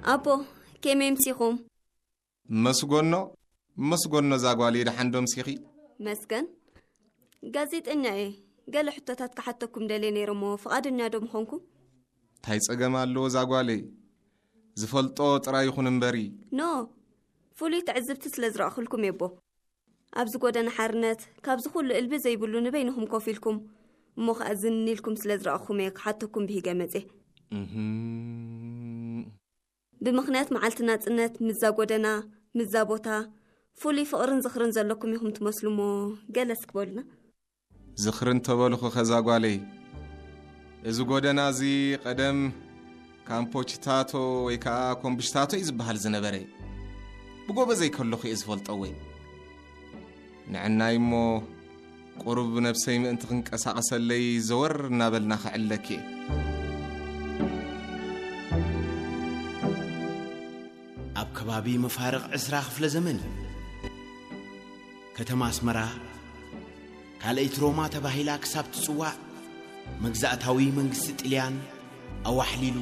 ኣቦ፣ ከመይ ምሲኹም? መስጎኖ፣ መስጎኖ፣ እዛ ጓለይ፣ ደሓን ዶ ምሲኺ? መስገን፣ ጋዜጠኛ እየ። ገለ ሕቶታት ክሓተኩም ደልየ ነይረ እሞ፣ ፍቓደኛ ዶ ምኾንኩም? እንታይ ጸገም ኣለዎ እዛ ጓለይ? ዝፈልጦ ጥራይ ይኹን እምበሪ። ኖ፣ ፍሉይ ትዕዝብቲ ስለ ዝረእኹልኩም እየ ኣቦ። ኣብዚ ጎደና ሓርነት፣ ካብዚ ኩሉ እልቢ ዘይብሉ ንበይንኹም ኮፍ ኢልኩም፣ እሞ ኸኣ ዝን ኢልኩም ስለ ዝረእኹም እየ ክሓተኩም ብሂገ መጽየ። እህም። ብምኽንያት መዓልቲ ናጽነት፣ ምዛ ጎደና፣ ምዛ ቦታ፣ ፍሉይ ፍቕርን ዝኽርን ዘለኩም ኢኹም ትመስሉ እሞ፣ ገለ እስኪ በሉና። ዝኽርን ተበልኹ ከዛ ጓለይ። እዚ ጎደና እዚ ቀደም ካምፖችታቶ ወይ ከኣ ኮምብሽታቶ እዩ ዝበሃል ዝነበረ። ብጎበዘይ ከለኹ እየ ዝፈልጦ ወይ። ንዕናይ እሞ ቁሩብ ነብሰይ ምእንቲ ክንቀሳቐሰለይ ዘወር እናበልና ከዕለኪ እየ። ኣብ ከባቢ መፋርቕ ዕስራ ክፍለ ዘመን እዩ። ከተማ ኣስመራ ካልኣይቲ ሮማ ተባሂላ ክሳብ ትጽዋዕ፣ መግዛእታዊ መንግስቲ ጥልያን ኣዋሕሊሉ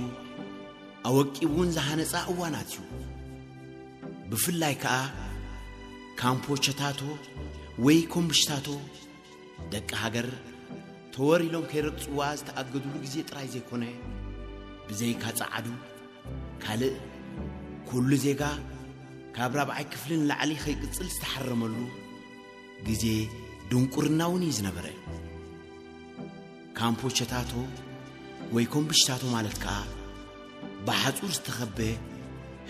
ኣወቂቡ እውን ዝሃነጻ እዋናት እዩ። ብፍላይ ከኣ ካምፖ ቸታቶ ወይ ኮምብሽታቶ፣ ደቂ ሃገር ተወር ኢሎም ከይረግጽዋ ዝተኣገዱሉ ግዜ ጥራይ ዘይኮነ፣ ብዘይካ ጸዓዱ ካልእ ኩሉ ዜጋ ካብ ራብዓይ ክፍሊ ንላዕሊ ከይቅጽል ዝተሓረመሉ ግዜ ድንቁርና እውን እዩ ዝነበረ። ካምፖ ቸታቶ ወይ ኮምብሽታቶ ማለት ከኣ ብሓጹር ዝተኸበ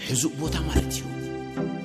ሕዙእ ቦታ ማለት እዩ።